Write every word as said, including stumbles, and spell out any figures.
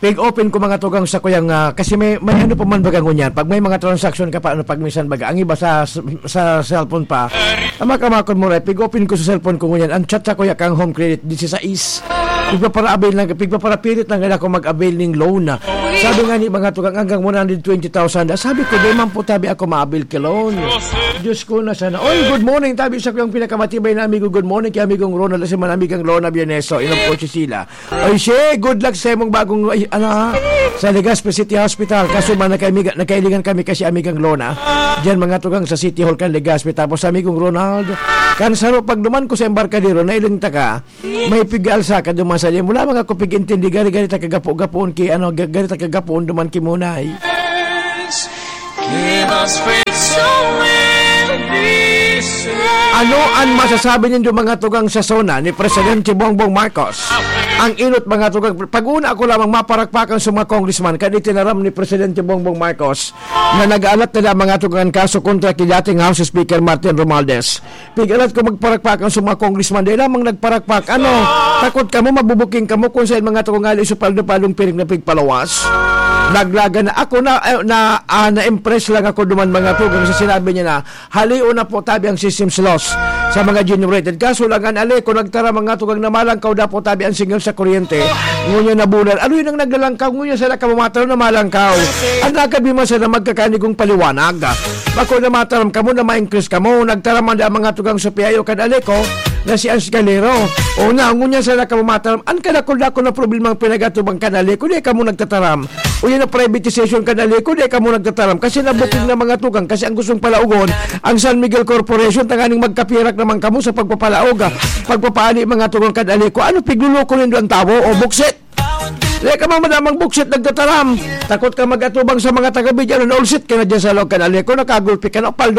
Pig-open ko, mga tugang, sa kuyang, ah, kasi may, may ano pa man baga ngunyan. Pag may mga transaction ka pa, ano, pag minsan baga, ang iba sa, sa cellphone pa, ang makamakon mo rin, pig-open ko sa cellphone ko ngunyan. Ang chat sa kuya kang Home Credit, disisais. Pigpapara-avail lang, pigpaparapilit lang ako mag-avail ning loan na. Sabi nga ni mga tugang, hanggang one hundred twenty thousand. Ah, sabi ko, "Di man po tabi ako ma-avail ka loan." Diyos ko na sana. Oy, good morning, tabi sa kuyang pinakamatibay na amigo. Good morning kay amigong Ronald, si man amigang Lona Bieneso. Inom po si Sila. Ay, she, good luck sa imong bagong, ay, ano, ha? Sa Legazpi City Hospital. Kaso man, nagkaimiga-, nagkailingan kami kasi amigang Lona. Diyan, mga tugang sa City Hall kan Legazpi. Tapos sa amigong Ronald, kan saro, pag duman ko sa Embarcadero, nailing ta ka, may pigal sa ka duman sa diyan. Wala mga kupig intindi, gari-gari ta kagapo-gapoon ki, ano, ga-, gari ta kagapoon duman ki Munay. Ano an masasabi nindo, mga tugang, sa SONA ni Presidente Bongbong Marcos? Ang inot, mga tugang, pag-una ako lamang maparakpakan sa mga congressman kan itinaram ni Presidente Bongbong Marcos na nag-aalat na mga tugang kaso kontra ki dating House Speaker Martin Romualdez. Pig-alat ko magparakpakan sa mga congressman, dahil lamang nagparakpak. Ano, takot kamo, mabubuking kamo kung saan mga tugang ali sa paldo-paldong piring na pigpalawas? Naglaga na ako na, eh, na, ah, na-impress lang ako duman, mga tugang, sa sinabi niya na, "Halion na po tabi ang system's loss sa mga generated." Kaso lang, an ali ko nagtara, mga tugang, na malangkaw daw po tabi ang signal sa kuryente. Ngunyan na bulan, ano yun ang naglalangkaw? Ngunyan sana ka mamataw na malangkaw. Ang nagkabi man sana magkakanigong paliwanag. Bako na mataram kamo na ma-increase kamo, nagtaram man ang mga tugang sa P I O kan Aleco na si Ans Galero. O na, ngunyan sana kamo mataram, ang kadakul-dakul na problema ang pinagatubang kan Aleco, di kamo nagtataram. O yan ang privatization kan Aleco, di kamo nagtataram. Kasi nabuking na mga tugang, kasi ang gustong palaugon, ang San Miguel Corporation, tanganing magkapirak naman kamo sa pagpapalaog, ah, pagpapaali mga tugang kan Aleco. Ano, pigluloko nindo ang tawo o buksit? Dai ka man madamang buksit nagtataram. Takot ka mag-atubang sa mga taga-Bidyan, naulsit ka na dyan sa loob kan Aleco, nakagulpi ka na, paldo